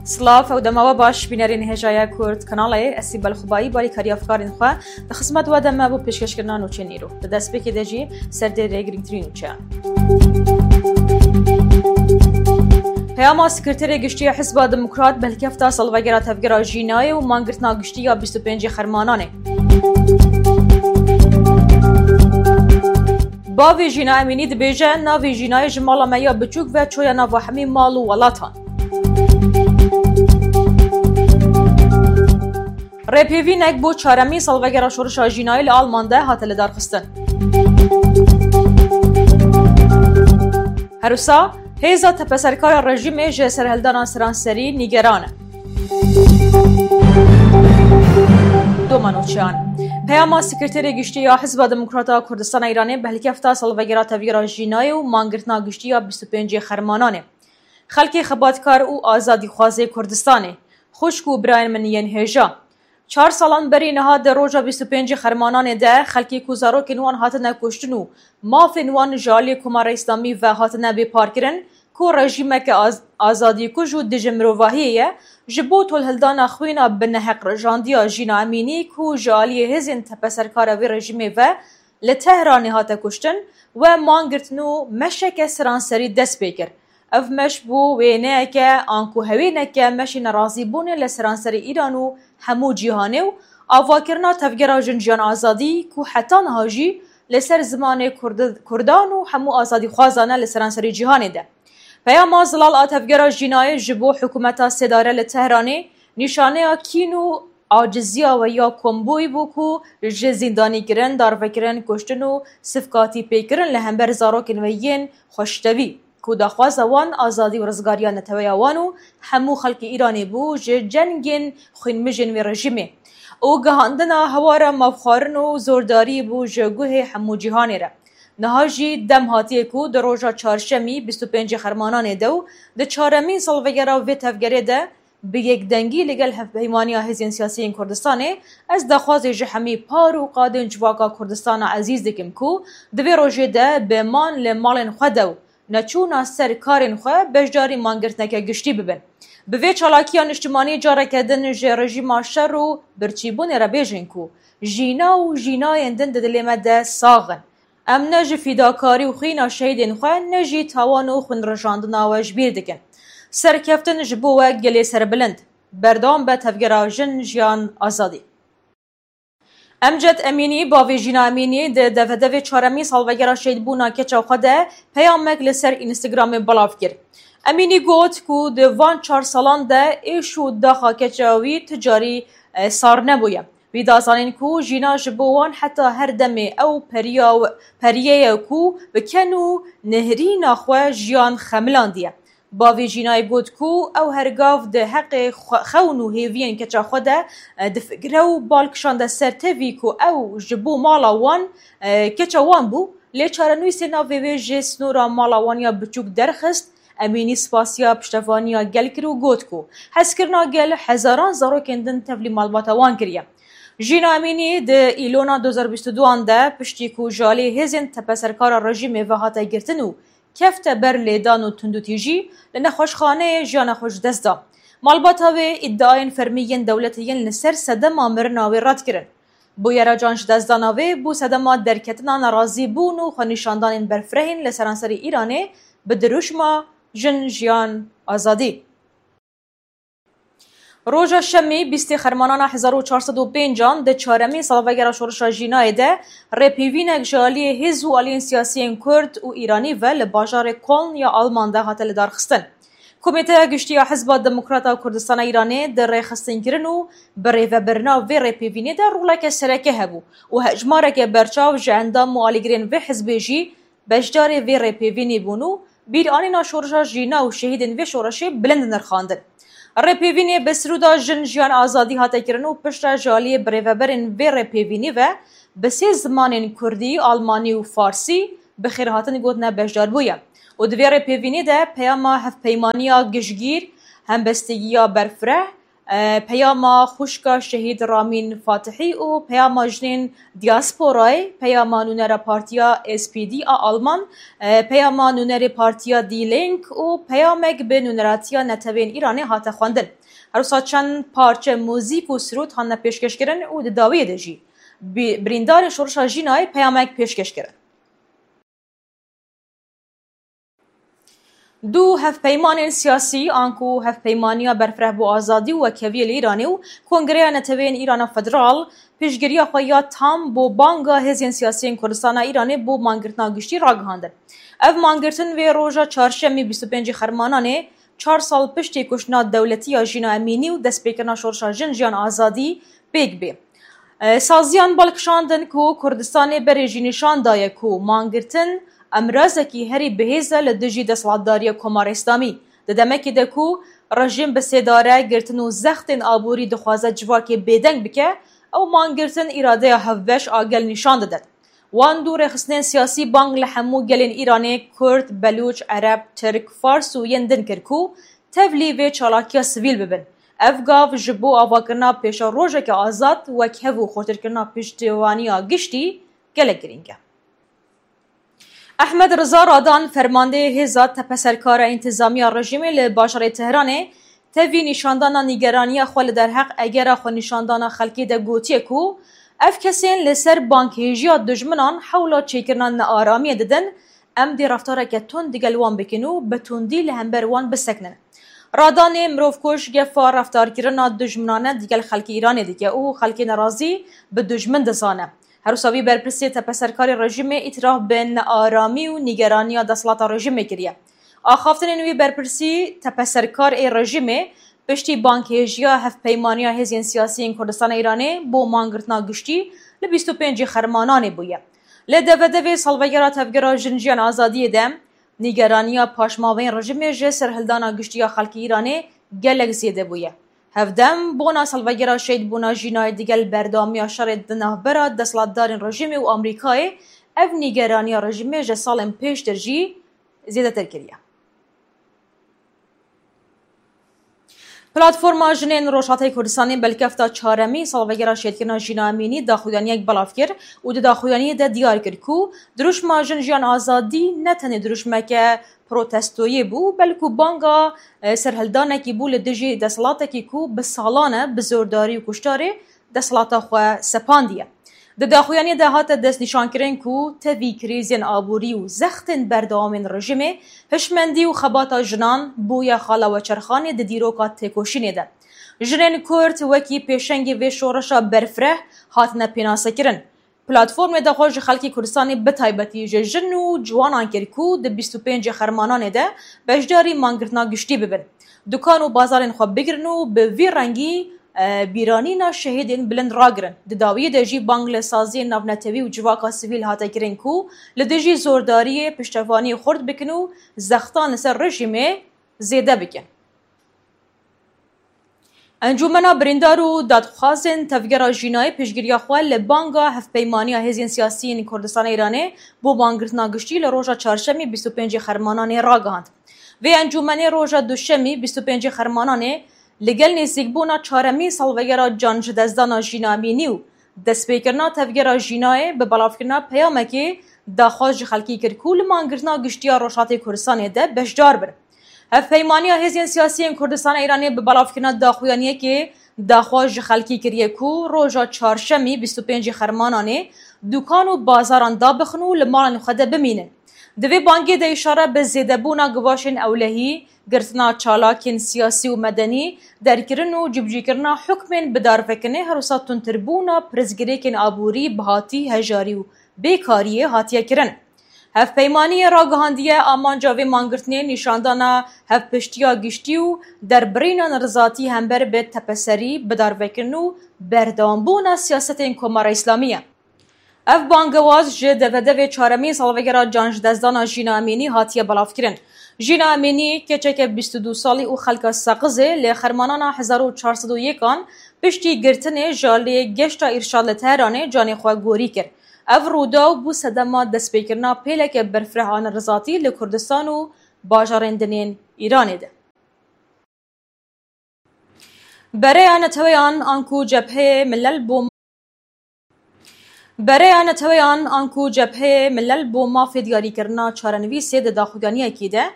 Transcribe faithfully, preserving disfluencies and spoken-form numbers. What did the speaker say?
Silav û dema we baş, bînerên hêjaya Kurd Kanalê, ez Sîbel Xubayî, barî karî afkarên xwe di xizmet we de me bo pêşkêşkirina nûçeyên îro. Di destpêkê de jî serdêrê girîngtirîn nûçeyan. Peyama Sekreterê Giştî ya Hizba Demokrat bi hilkefta salvegera tevgera Jînayê û mangirtina giştî ya bîst û pêncê Xermananê. Bavê Jîna Emînî dibêje, navê Jînayê ji mala me ya biçûk ve çoya nava hemî mal û welatan. Rêpêvînek bo çaremîn salvegera şorişa Jînayê li Alman de hate lidarxistin. Her wisa, hêza tepeserkara rejîmê ji serhildana seranserî nîgeran e. Doma nûçeyan. Peyama Sekreterê Giştî ya Hizba Demokrata Kurdistana Îranê bi hilkefta salvegera tevgera Jînayê û mangirtina giştî ya bîst û pêncê Xermananê. Xelkê xebatkar û azadîxwazê Kurdistanê, xwişk û birayên min yên hêja. Çar salan berî niha di roja bîst û pêncê Xermananê de xelkê ku zarokên wan hatine kuştin û mafên wan ji aliyê Komara Îslamî ve hatine bêparkirin, ku rejîmeke az-, azadîkuj û dijî mirovahiyê ye, ji bo tolhildana xwîna bi neheq rijandiya Jîna Emînî ku ji aliyê hêzên tepeserkara vê rejîmê ve li Tehranê hate kuştin, we man girtin û meşeke seranserî dest pê kir. Ev meş bû wêneyeke anku hewêneke meşê nerazîbûnê li seranserê Îran û hemû cîhanê û avakirina tevgera Jin Jiyan Azadî ku heta niha jî li ser zimanê Kurdi-, Kurdan û hemû azadîxwazan e li seranserê cîhanê de. Peyama zelal a tevgera Jînayê ji bo hikûmeta sêdare li Tehranê nîşaneya kîn û aciziya we ya kombûyî bû ku ji zîndanîkirin, darvekirin, kuştin û sifkatî pêkirin li hember zarokên we yên xweştevî, ku daxwaza wan azadî û rizgariya neteweya wan û hemû xelkê Îranê bû ji cengên xwînmijên vê rejîmê û gihandina hewara mafxwarin û zordarî bû ji guhê hemû cîhanê re. Niha jî dem hatiye ku di roja çarşemî bîst û pêncê Xermananê de û di çaremîn salvegera vê tevgerê de bi yekdengî li gel Hevpeymaniya Hêzên Siyasî yên Kurdistanê ez daxwazê ji hemî par û qadên civaka Kurdistana ezîz dikim ku di vê rojê de bi man li malên xwe de û neçûna ser karên xwe beşdarî mangirtineke giştî bibin. Bi vê çalakiya niştimanî careke din ji rejîma şer û birçîbûnê re bêjin ku jîna û jînayên din di dilê me de sax in. Em ne ji fîdakarî û xwîna şehîdên xwe, ne jî tawan û xwînrijandina we ji bîr dikin. Serkeftin ji bo we gelê serbilind. Berdewam be tevgera Jin Jiyan Azadî. Emced Emînî, bavê Jîna Emînî, di devedevê çaremîn salvegera şehîdbûna keça xwe de peyamek li ser Instagramê belav kir. Emînî got ku di van çar salan de êş û daxa keça wî tu carî, e, sar nebûye. Wî da zanîn ku jîna ji bo wan heta her demê ew periya, periyê ye ku bi ken û nihirîna xwe jiyan xemilandiye. Bavê jînayê got ku ew her gav di heqê xwe, xewn û hêviyên keça xwe de, e, difikire û bal kişande ser tevî ku ew ji bo mala wan, e, keça wan bû, lê çarenivîsê navê wê ji sînora mala wan ya biçûk derxist. Emînî spasiya piştevaniya gel kir û got ku hezkirina gel hezaran zarokên din tevlî malbata wan kiriye. Jîna Emînî di Îlona du hezar bîst û duan de piştî ku ji alî hêzên tepeserkara rejîmê ve hate girtin û kefte ber lêdan û tundûtîjî, li nexweşxaneyê jiyana xwe ji dest da. Malbata wê îdiayên fermî yên dewletê yên li ser sedema mirina wê red kirin. Bûyera can ji destdana wê bû sedema derketina nerazîbûn û xwenîşandanên berfirehên li seranserê Îranê bi dirûşma Jin, Jiyan, Azadî. Roja Şemê, bîstê Xermanana hezar û çar sed û pêncan, di çaremîn salvegera şorişa Jînayê de rêpêvînek ji aliyê hêz û aliyên siyasiyên Kurd û Îranî ve li bajarê Koln ya Alman de hate lidarxistin. Komîteya Giştî ya Hizba Demokrata Kurdistana Îranê di rêxistinkirin û birêvebirina vê rêpêvînê de roleke sereke hebû û hejmareke berçav ji endam û alîgirên vê hizbê jî beşdarê vê rêpêvînê bûn û bîranîna şorişa Jîna û şehîdên vê şoreşê bilind nirxandin. Rêpêvînê bi sirûda Jin, Jiyan, Azadî hate kirin û piştre ji aliyê birêveberên vê rêpêvînê ve bi sê zimanên Kurdî, Almanî û Farsî bi xêrhatin gotine beşdarbûye û di vê rêpêvînê de peyama hevpeymaniya giştgîr, hembestigiya berfireh, E, peyama xwişka şehîd Ramîn Fatihî û peyama jinên diasporayê, peyama nûnera partiya S P D a Alman, e, peyama nûnerê partiya Die Link û peyamek bi nûneratiya Netewên Îranê hate xwendin. Her wisa çend parçe muzîk û sirût hatine pêşkêşkirin û di dawiyê de jî bi-, birîndarên şoreşa Jînayê peyamek pêşkêş kirin. Du hevpeymanên siyasî, anku Hevpeymaniya Berfireh bo Azadî û Wekheviyê li Îranê û Kongreya Neteweyên Îrana Federal, piştgiriya xwe ya tam bo banga hêzên siyasî yên Kurdistana Îranê bo mangirtina giştî ragihandin. Ev mangirtin vê roja çarşemê bîst û pêncî Xermananê, çar sal piştî kuştina dewletî ya Jîna Emînî û destpêkirina şoreşa Jin Jiyan Azadî pêk bê. E, saziyan bal kişandin ku Kurdistanê berê jî nîşan daye ku mangirtin emrazekî herî bihêz e li dijî desthilatdariya Komara Îslamî. Di demekê de ku rejîm bi sêdare girtin û zextên aborî dixwaze civakê bêdeng bike, ew mangirtin îradeya hevbeş a gel nîşan didin. Wan du rêxistinên siyasî bang li hemû gelên Îranê, Kurd, Belûç, Ereb, Tirk, Fars û yên din kir ku tevlî vê çalakiya sivîl bibin. Ev gav ji bo avakirina pêşerojeke azad, wekhev û xurtirkirina piştevaniya giştî gelek girîng e. Ehmed Riza Radan, fermandeyê Hêza Tepeserkar a Întîzamiya Rejîmê li bajarê Tehranê, tevî nîşandana nîgeraniya xwe li derheq egera xwenîşandana xelkê de gotiye ku ev kesên li ser banghêjiya dijminan hewla çêkirina nearamiyê didin, em dê reftareke tund digel wan bikin û bi tundî li hember wan bisekinin. Radanê mirovkuj gefa reftarkirina dijminane digel xelkê Îranê dike û xelkê nerazî bi dijmin dizane. Her wisa vî berpirsê tepeserkarê rejîmê îtiraf bi nearamî û nîgeraniya desthilata rejîmê kiriye. Axaftinên wî berpirsî tepeserkar ê rejîmê piştî banghêjiya Hevpeymaniya Hêzên Siyasî yên Kurdistana Îranê bo mangirtina giştî li bîst û pêncî Xermananê bûye. Li devedevê salvegera Tevgera Jin Jiyan Azadiyê de nîgeraniya paşmaveyên rejîmê ji serhildana giştî ya xelkê Îranê gelek zêde bûye. Hevdem bona salvegera şehîdbûna Jînayê digel berdewamiya şerê di navbera desthilatdarên rejîmê û Amerîkayê ev nîgeraniya rejîmê ji salên pêştir jî zêdetir kiriye. Platforma Jinên Rojhatê Kurdistanê belkefta çaremî salvegera şehîdkirina Jîna Emînî daxuyaniyek belav kir û di daxuyaniyê de diyar kir ku dirûşma Jin Jiyan Azadî ne tenê dirûşmeke protestoyê bû, belku banga, e, serhildanekî bû li dijî desthilatekî ku bi salan e bi zordarî û kuştarê desthilata xwe sepandiye. Di daxuyaniyê de hate destnîşankirin ku tevî krîzên aborî û zextên berdewamên rejîmê, hişmendî û xebata jinan bûye xala weçerxanê di dîroka têkoşînê de. Jinên Kurd wekî pêşengê vê şoreşa berfireh hatine pênasekirin. Platformê daxwaz ji xelkê Kurdistanê bi taybetî ji jin û ciwanan kir ku di bîst û pêncê Xermananê de beşdarî mangirtina giştî bibin. Dukan û bazarên xwe bigirin û bi vî rengî, e, bîranîna şehîdên bilind ragirin. Di dawiyê de jî bang li saziyên navnetewî û civaka sivîl hate kirin ku li dijî zordariyê piştevaniyê xurt bikin û zextan li ser rejîmê zêde bikin. Encûmena Birîndar û Dadxwazên Tevgera Jînayê piştgiriya xwe li banga Hevpeymaniya Hêzên Siyasî yên Kurdistana Îranê bo bangirtina giştî li roja çarşemê bîst û pêncê Xermananê ragihand. Vê encûmenê roja duşemî bîst û pêncê Xermananê li gel nêzîkbûna çaremîn salvegera canjidestdana Jîna Emînî û destpêkirina Tevgera Jînayê bi belavkirina peyamekê daxwaz ji xelkî kir ku li mangirtina giştî ya Rojhatê Kurdistanê de beşdar bin. Hevpeymaniya Hêzên Siyasî yên Kurdistana Îranê bi belavkirina daxuyaniyekê daxwaz ji xelkî kiriye ku roja çarşemî bîst û pêncê Xermananê dukan û bazaran dabixin û li malên xwe de bimînin. Di vê bangê de îşare bi zêdebûna givaşên ewlehî, girtina çalakên siyasî û medenî, derkirin û cîbicîkirina hukmên bidarvekinê, her wisa tundtirbûna pirsgirêkên aborî, bihatî, hejarî û bêkariyê hatiye kirin. Hevpeymaniyê ragihandiye, amanca vê mangirtinê nîşandana hevpiştiya giştî û derbirîna nerizatî hember bi tepeserî, bidarvekirin û berdewambûna siyasetên Komara Îslamî ye. Ev bangewaz ji devedevê çaremîn salvegera canjidestdana Jîna Emînî hatiye belavkirin. Jîna Emînî, keçeke bîst û du salî û xelka Seqizê, li Xermanana hezar û çar sed û yekan piştî girtinê ji alî Geşta Îrşad li Tehranê canê xwe gorî kir. Ev rûdaw bû sedema destpêkirina pêleke berfireh a nerizatî li Kurdistan û bajarên din ên Îranê de. Bereya Neteweyan anku Cepheyê Milel bo Bereya Neteweyan anku Cepheyê Milel bo Mafê Diyarîkirina Çarenivîsê di daxuyaniyekî de